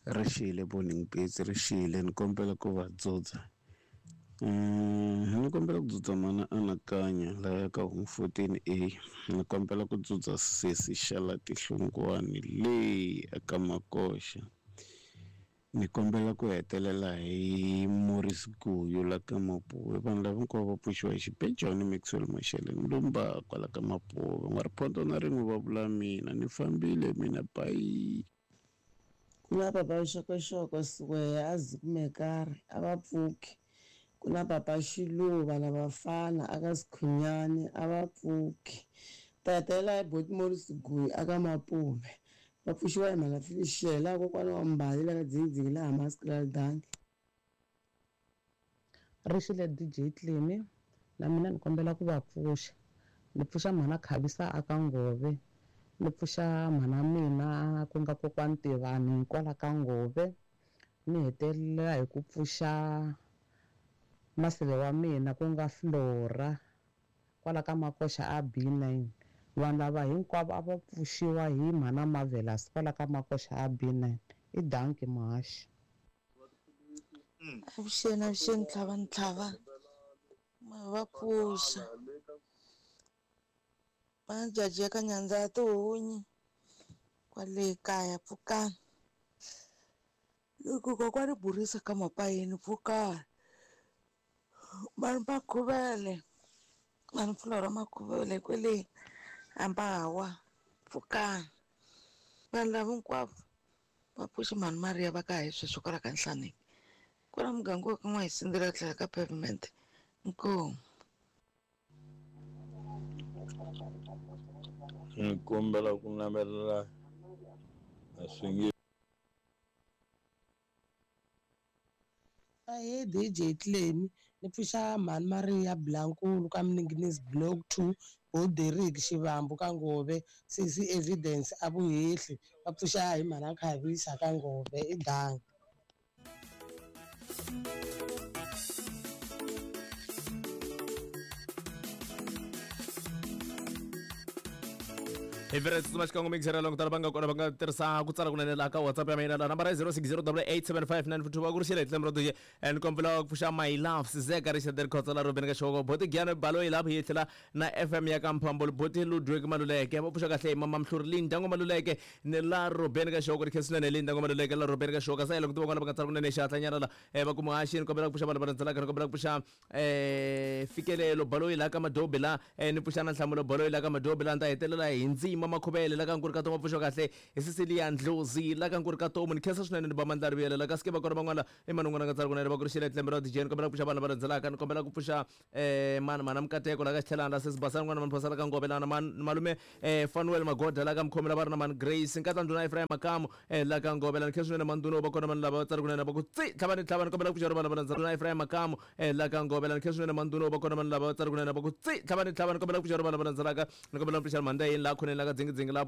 Ri xile Morning Beats ri xile ni kombela ku va dzudza. Ni kombela ku dzudza mana Anakanya laya ka home 14A. Ni kombela ku dzudza sesi Xala Tihlungwani le eka Makoxa. Ni kombela ku hetelela hi Morris Guyu la ka Mapuve. Vanhu lava hinkwavo va pfuxiwa hi Xibejani Maxwell Mashele Ndumba kwala ka Mapuve. N'wa-Riphonto na rin'we va vula mina ni fambile mina bayi. Ku na papa Xokoxoko Siweya a Zikumekari a va pfuki. Ku na papa Xiluva na vafana a ka Sikhunyani a va pfuki. Ta hetelela hi Boti Morris Guyi a ka Mapuve. Va pfuxiwa hi mhana Felicia laha kokwana wa Mbali la ka Dzingidzingi laha Maskraal Dankie. Rixile DJ Clemy na mina ni kombela ku va pfuxa ni pfuxa mhana Khavisa a ka Ngove ni pfuxa mhana mina ku nga kokwani Tivani kwala ka Ngove ni hetelela hi ku pfuxa maseve wa mina ku nga Flora kwala ka Makoxa a B9 vanhu lava hinkwavo a va pfuxiwa hi mhana Marvelous kwala ka Makoxa a B9 i dankie muhaxi. Avuxeni avuxeni tlhava ni tlhava ma va pfuxa va jaji ya ka nyandza ya tihunyi kwale kaya pfukani loko kokwani burisa ka mapayeni pfukani vanhu va khuvele vanhu pfula makhuvele kwele ambawa pfukani vanhu lava hinkwavo Va pfuxe mhani Mariya va ka hi sweswo kwala ka Nhlaneki. Kwala muganga wa ka N'wahisindzela tlhelo ka pavement. Inkomu. Ni kombela ku navelela a swi nge. Ahee DJ Clemy ni pfuxa mhani Maria Blankulu ka Mninginisi block 2 bo Derrick Xivambu ka Ngove sesi Evidence a Vuhehli va pfuxa hi mhana Khavisa ka Ngove i dankie. Hi vhele tsutsuma xikan'we mixera loko tala va nga kona va nga tirhisa ku tsala kunene laha ka WhatsApp ya mina laha nambara yi 0608875942 va ku ri xile hi tlhelo ra DJ and kombela ku pfuxa my love Sizeka Richard Khotsa la Robin ka Xoko Boti Giano Baloyi lapho hi tlhela na FM ya ka Mphambolo Boti Ludwig Maluleke va pfuxa kahle hi Mama Mhluri Linda Ngo Maluleke ni la Robin ka Xoko ri khensa swinene Linda Ngo Maluleke la Robin ka Xoko sa loko tiva kona va nga tsala kunene xihatla nyana la va ku muhaxi ni kombela ku pfuxa vanhu va landzelaka ni kombela ku pfuxa fikelelo baloyi la ka madobi la ni pfuxa na nhlamulo baloyi la ka madobi la ni ta hetelela hi ndzima makhuvele la ka nkuri ka tomu pfuxo kahle hi Cecilia Ndlozi la ka nkuri ka tomu ni khensa swinene ni ba mandla rivuyela la ka sike va kona van'wana i manungwana nga tsala kunene va ku ri xile tlembe ra DJ ni kombela ku pfuxa vanhu va landzelaka ni kombela ku pfuxa mani mana Mukateko la ka Xitlhelana la sesi Basani n'wana Manphosala ka Ngove la na malume Fanuel Magoda la ka Mkhomela va ri na mani Grace nkatla ndhuna Ephraim Makamu la ka Ngove la ni khensa swinene manduna va kona vanhu lava va tsala kunene va ku tsi tlhavani tlhavani kombela ku pfuxa vanhu va landzelaka ndhuna Ephraim Makamu la ka Ngove la ni khensa swinene manduna va kona vanhu lava va tsala kunene va ku tsi tlhavani tlhavani kombela ku pfuxa vanhu va landzelaka ni kombela ku pfuxa mhanda yini la khoneni la ka dzingidzingi la